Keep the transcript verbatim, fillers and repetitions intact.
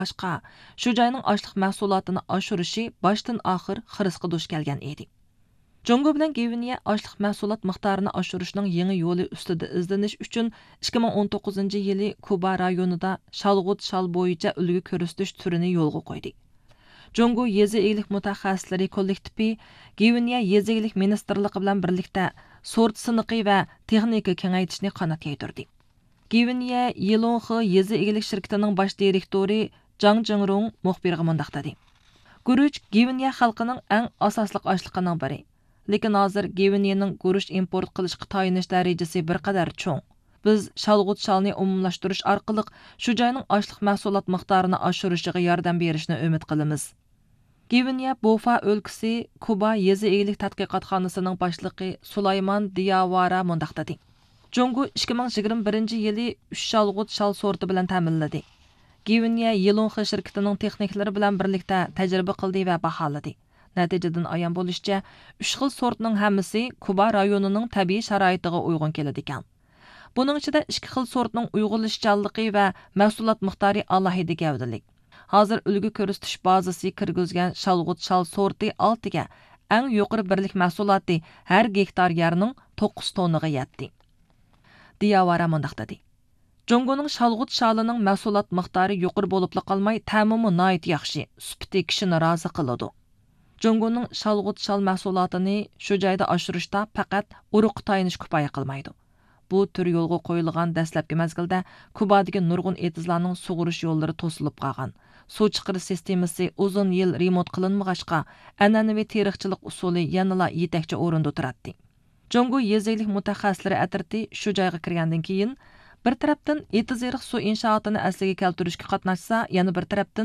باشقا، شۇ جاينىڭ ئاشلىق مەھسۇلاتىنى ئاشۇرۇشى باشتىن ئاخىر خىرىسقا دۇچ كەلگەن ئىدى. جۇڭگو بىلەن گۋىنېيە ئاشلىق مەھسۇلات مىقدارىنى ئاشۇرۇشنىڭ يېڭى يولى ئۈستىدە ئىزدىنىش ئۈچۈن ئىككى مىڭ ئون توققۇزىنچى يىلى كۇبا رايونىدا شالغۇت شال بويىچە ئۈلگە كۆرسىتىش تۈرىنى يولغا قويدى. جۇڭگو يېزا ئىگىلىك مۇتەخەسسىسلىرى كوللېكتىپى گۋىنېيە يېزا ئىگىلىك مىنىستىرلىقى بىلەن بىرلىكتە سورت سىنىقى ۋە تېخنىكا كېڭەيتىشنى قانات يايدۇردى. گۋىنېيە يىلۇڭخې يېزا ئىگىلىك شىركىتىنىڭ باش دىرېكتورى جاڭ جىڭرۇڭ مۇخبىرغا مۇنداق دېدى: گۈرۈچ گۋىنېيە خەلقىنىڭ ئەڭ ئاساسلىق ئاشلىقىنىڭ بىرى. لېكىن ھازىر گۋىنېيەنىڭ گۈرۈچ ئىمپورت قىلىشقا تايىنىش دەرىجىسى بىر قەدەر چوڭ. بىز شالغۇت شالنى ئومۇملاشتۇرۇش ئارقىلىق شۇ جاينىڭ ئاشلىق مەھسۇلات مىقدارىنى ئاشۇرۇشىغا ياردەم بېرىشنى ئۈمىد قىلىمىز. گۋىنېيە بوفا ئۆلكىسى كۇبا يېزا ئىگىلىك تەتقىقاتخانىسىنىڭ باشلىقى سۇلايمان دىياۋارا مۇنداق دېدى: جۇڭگو ئىككى مىڭ يىگىرمە بىرىنچى يىلى ئۈچ شالغۇت شال سورتى بىلەن تەمىنلىدى. گۋىنېيە يىلۇڭخې شىركىتىنىڭ تېخنىكلىرى بىلەن بىرلىكتە تەجرىبە قىلدى ۋە باھالىدى. نەتىجىدىن ئايان بولۇشىچە، ئۈچ خىل سورتنىڭ ھەممىسى كۇبا رايونىنىڭ تەبىئىي شارائىتىغا ئۇيغۇن كېلىدىكەن. بۇنىڭ ئىچىدە ئىككى خىل سورتنىڭ ئۇيغۇنلىشىشچانلىقى ۋە مەھسۇلات مىقدارى ئالاھىدە گەۋدىلىك. ھازىر ئۈلگە كۆرسىتىش بازىسى كىرگۈزگەن شالغۇت شال سورتى ئالتىگە ئەڭ يۇقىرى بىرلىك مەھسۇلاتى ھەر گېكتار يەرنىڭ توققۇز توننىغا يەتتى. دىياۋارا مۇنداق دېدى: جۇڭگونىڭ شالغۇت شالىنىڭ مەھسۇلات مىقدارى يۇقىرى بولۇپلا قالماي، تەمىمۇ ناھايىتى ياخشى، سۈپىتى كىشىنى رازى قىلىدۇ. جۇڭگونىڭ شالغۇت شال مەھسۇلاتىنى شۇ جايدا ئاشۇرۇشتا پەقەت ئۇرۇققا تايىنىش كۇپايە قىلمايدۇ. بۇ تۈر يولغا قويۇلغان دەسلەپكى مەزگىلدە كۇبادىكى نۇرغۇن ئېتىزلارنىڭ سۇغۇرۇش يوللىرى توسۇلۇپ قالغان، سۇ چىقىرىش سىستېمىسى ئۇزۇن يىل رېمونت قىلىنمىغاچقا، ئەنئەنىۋى تېرىقچىلىق ئۇسۇلى يەنىلا يېتەكچى ئورۇندا تۇراتتى. جۇڭگو يېزا ئىگىلىك مۇتەخەسسىسلىرى ئەترىتى شۇ جايغا كىرگەندىن كېيىن، بىر تەرەپتىن ئېتىز-ئېرىق سۇ ئىنشائاتىنى ئەسلىگە كەلتۈرۈشكە قاتناشسا، يەنە بىر تەرەپتىن